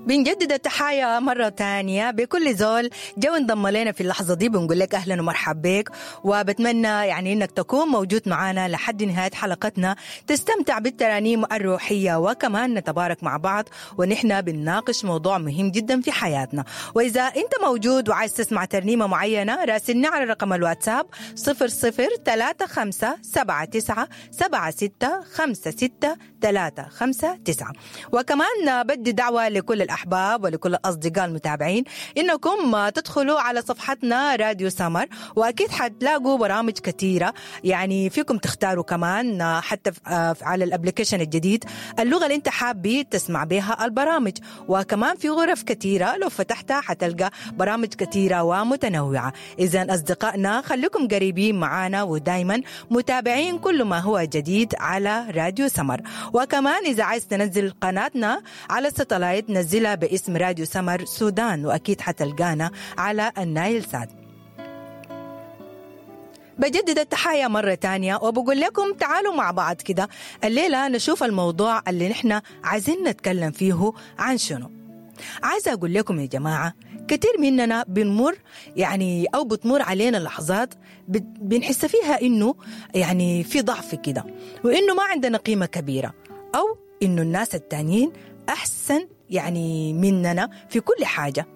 بنجدد التحايا مرة تانية بكل زول جو انضم لنا في اللحظة دي، بنقول لك أهلا ومرحبا بك، وبتمنى يعني إنك تكون موجود معنا لحد نهاية حلقتنا، تستمتع بالترانيم الروحية وكمان نتبارك مع بعض ونحن بنناقش موضوع مهم جدا في حياتنا. وإذا أنت موجود وعايز تسمع ترنيمة معينة راسلنا على رقم الواتساب 00 35 79 76 56 359. وكمان بدي دعوة لكل الأحباب ولكل الأصدقاء المتابعين إنكم تدخلوا على صفحتنا راديو سمر، وأكيد حتلاقوا برامج كثيرة يعني فيكم تختاروا كمان حتى على ال application الجديد اللغة اللي أنت حابي تسمع بها البرامج، وكمان في غرف كثيرة لو فتحتها حتلقى برامج كثيرة ومتنوعة. إذا أصدقائنا خليكم قريبين معنا ودايما متابعين كل ما هو جديد على راديو سمر. وكمان إذا عايز تنزل قناتنا على ال satellite نزلها باسم راديو سمر سودان، وأكيد حتلقانا على النايل سات. بجدد التحايا مرة تانية وبقول لكم تعالوا مع بعض كده الليلة نشوف الموضوع اللي نحن عايزين نتكلم فيه عن شنو. عايزة أقول لكم يا جماعة كثير مننا بنمر يعني أو بتمر علينا لحظات بنحس فيها إنه يعني في ضعف كده، وإنه ما عندنا قيمة كبيرة، أو إنه الناس التانيين أحسن يعني مننا في كل حاجة.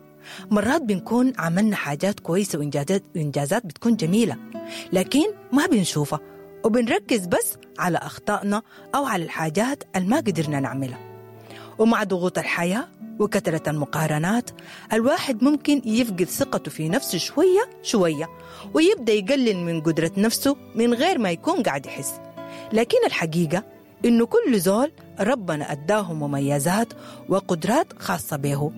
مرات بنكون عملنا حاجات كويسة وإنجازات بتكون جميلة، لكن ما بنشوفها وبنركز بس على أخطائنا أو على الحاجات اللي ما قدرنا نعملها. ومع ضغوط الحياة وكثرة المقارنات الواحد ممكن يفقد ثقته في نفسه شوية شوية، ويبدأ يقلل من قدرة نفسه من غير ما يكون قاعد يحس. لكن الحقيقة إنه كل زول ربنا أداه مميزات وقدرات خاصة به،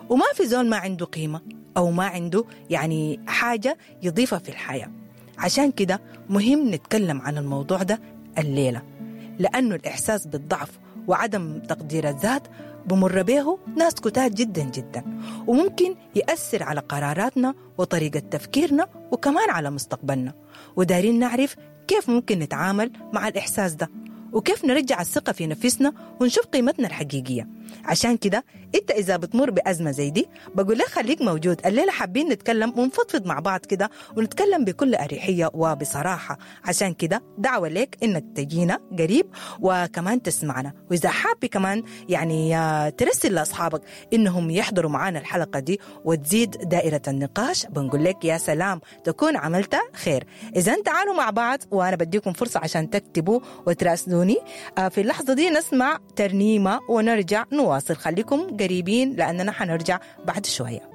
وما في زول ما عنده قيمة أو ما عنده يعني حاجة يضيفها في الحياة. عشان كده مهم نتكلم عن الموضوع ده الليلة، لأنه الإحساس بالضعف وعدم تقدير الذات بمر به ناس كتار جدا جدا، وممكن يأثر على قراراتنا وطريقة تفكيرنا وكمان على مستقبلنا. ودارين نعرف كيف ممكن نتعامل مع الإحساس ده، وكيف نرجع الثقة في نفسنا ونشوف قيمتنا الحقيقية. عشان كده انت اذا بتمر بأزمة زي دي بقول لك خليك موجود الليلة، حابين نتكلم ونفضفض مع بعض كده ونتكلم بكل أريحية وبصراحة. عشان كده دعوة لك انك تجينا قريب وكمان تسمعنا، واذا حابي كمان يعني ترسل لأصحابك انهم يحضروا معنا الحلقة دي وتزيد دائرة النقاش، بنقول لك يا سلام تكون عملت خير. اذا تعالوا مع بعض وانا بديكم فرصة عشان تكتبوا وتراسلوني. في اللحظة دي نسمع ترنيمة ونرجع نواصل، خليكم قريبين لأننا حنرجع بعد شوية.